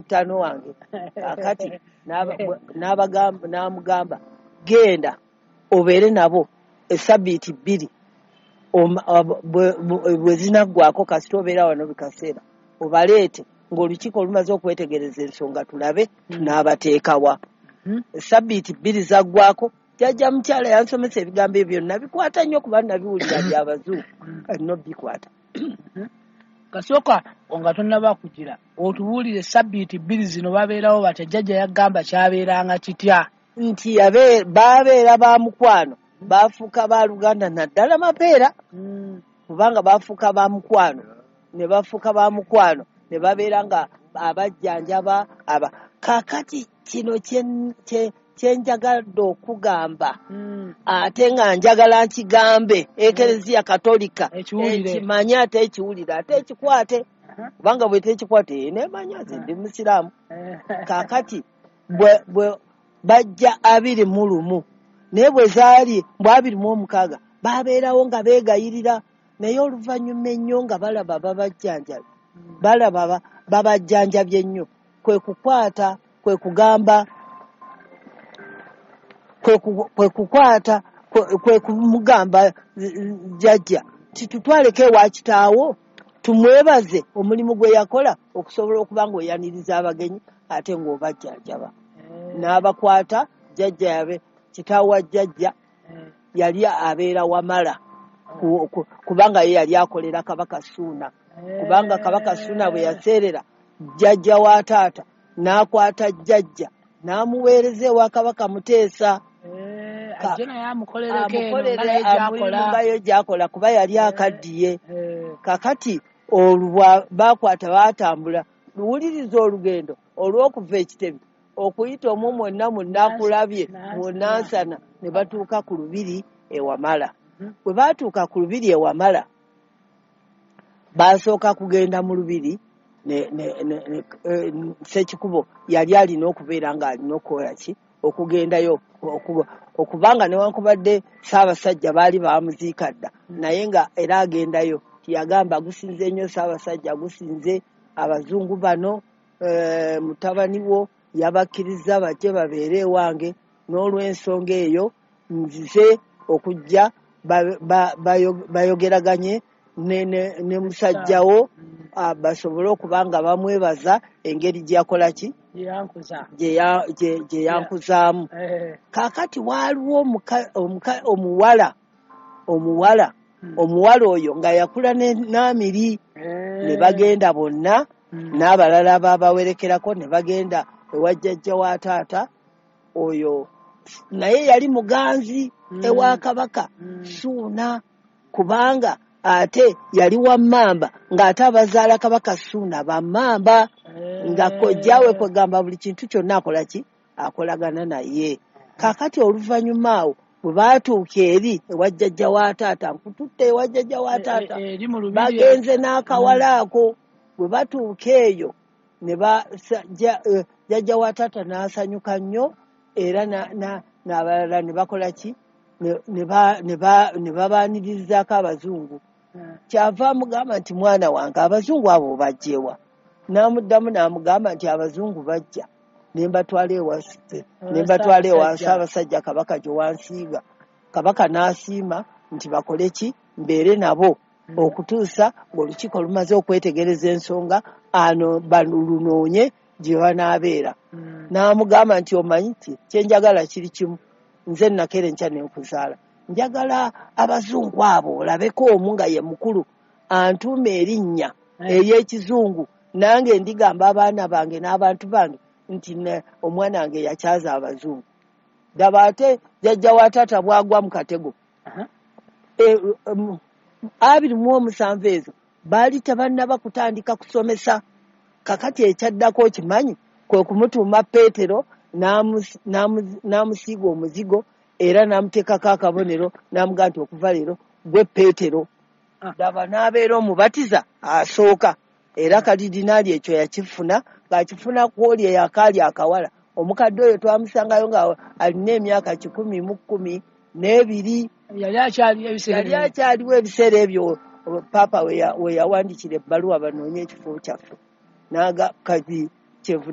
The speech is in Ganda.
Ttaano wange. Kakati n'amugamba, genda obeere nabo esabbiiti 2, bwe zinaggwako kasita obeera wano bikaseera obaleete ng'olukiiko lumaze okwetegereza ensonga, tulabe tunaabateekawa. Esabbiiti 2 zaggwako, jjajja mukyala yansomesa ebigambo ebyo byonna bikwata nnyo, kuba nabiwulira byabazungu, alina bikwata. Kasooka nga tonnaba kugira, otubuulire sabbiiti 2 zino babeerawo batya? Jjajja yagamba kyabeeranga kitya? Nti babeera ba mukwano, bafuuka ba luganda, naddala Mapeera, kubanga bafuuka ba mukwano, ne bafuuka ba mukwano, ne babeera nga abajjanjaba aba. Kaakati kino kyenjagadde okugamba, ate nga njagala nkigambe Ekereziya Katolika ekimanye, ate ekiwulire, ate ekikwate, kubanga bwe tekikwate nemanya nze ndi musiraamu. Kaakati bwe bajja 21, naye bwe zaali mbw 26 babeerawo nga beegayirira, naye oluvannyuma ennyo nga balaba babajjanjabye, balaba babajjanjabye ennyo, kwe kukwata, kwe kugamba, kwe kukwata, kwe kumugamba jjajja titutwaleko ewa kitaawo tumwebaze omulimu gwe yakola okusobola okuba ng'oyaniriza abagenyi ate ng'obajjanjaba. N'abakwata jjajja yabe kitaawo wa jjajja yali abeera Wamala, kubanga ye yali akolera Kabaka Ssuuna, kubanga Kabaka Ssuuna bwe yaseerera jjajja wa taata n'akwata jjajja n'amuweereza ewa Kabaka Muteesa amukolereko gy'akola, kuba yali akaddiye. Kakati olwo bakwata baatambula, luwuliriza olugendo olw'okuva Ekitebe okuyita omwo mwonna munnakulabye munansana, ne batuuka ku lubiri e Wamala. Bwe baatuuka ku lubiri e Wamala, baasooka kugenda mu lubiri Ssekikubo yali alina okubeera ng'alina okukola ki, okugendayo, okubanga newankubadde Ssaabasajja baali bamuziika dda, naye nga era agendayo. Yagamba gusinze nnyo Ssaabasajja, gusinze abazungu bano, mutabani wo yabakkiriza bajje babeere ewange, n'olw'ensonga eyo nzize okujja bayogeraganye ne musajjawo, basobole okuba nga bamwebaza engeri gye yakola ki, gye yankuzaamu. Kaakati waaliwo omuwala omuwala oyo nga yakula n'Amiri, ne bagenda bonna n'abalala babawerekerako ne bagenda ewa jjajja wa taata oyo, naye yali muganzi ewa Kabaka Ssuuna, kubanga ate yali wa mmamba, ng'ate abazaala Kabaka Ssuuna ba mmamba, nga kojjaawe kwegamba buli kintu kyonna akola ki, akolagana naye. Kaakati oluvannyuma awo bwe baatuuka eri ewa jjajja wa taata, nkututte ewa jjajja wa taata, bagenze n'akawala ako. Bwe batuuka eyo ne jjajja wa taata n'asanyuka nnyo, era n'abalala ne bakola ki, ne babaanirizaako abazungu. Kyava amugamba nti mwana wange abazungu abo bajjewa? N'amuddamu n'amugamba nti abazungu bajja ne mbatwala ewa Ssaabasajja Kabaka gye wansiiga. Kabaka n'asiima nti bakole ki, mbeere nabo okutuusa ng'olukiiko lumaze okwetegereza ensonga, ano balunoonye gye banaabeera. N'amugamba nti omanyi ki, kye njagala kiri kimu, nze nakeera enkya ne nkuzaala, njagala abazungu abo olabeko omu nga ye mukulu antuuma erinnya ery'ekizungu, nange ndigamba abaana bange n'abantu bange nti omwana wange yakyaza abazungu. Daba ate jjajja wa taata bw'agwa mu katego. 27 ezo baali tebannaba kutandika kusomesa. Kakati ekyaddako okimanyi, kwe kumutuuma Peetero, n'amusiiga omuzigo era n'amuteekako akabonero, n'amugamba nti okuva leero gwe Peetero. Daba n'abeera omubatiza asooka, era kalidinaali ekyo yakifuna, ng'akifuna ku oli eyakaali akawala. Omukadde oyo twamusangayo nga alina emyaka 112. Yali akyaliwo ebiseera ebyo Paapa we yawandiikira ebbaluwa banoonye ekifo kyaffe. Naga kati Kyenvudde.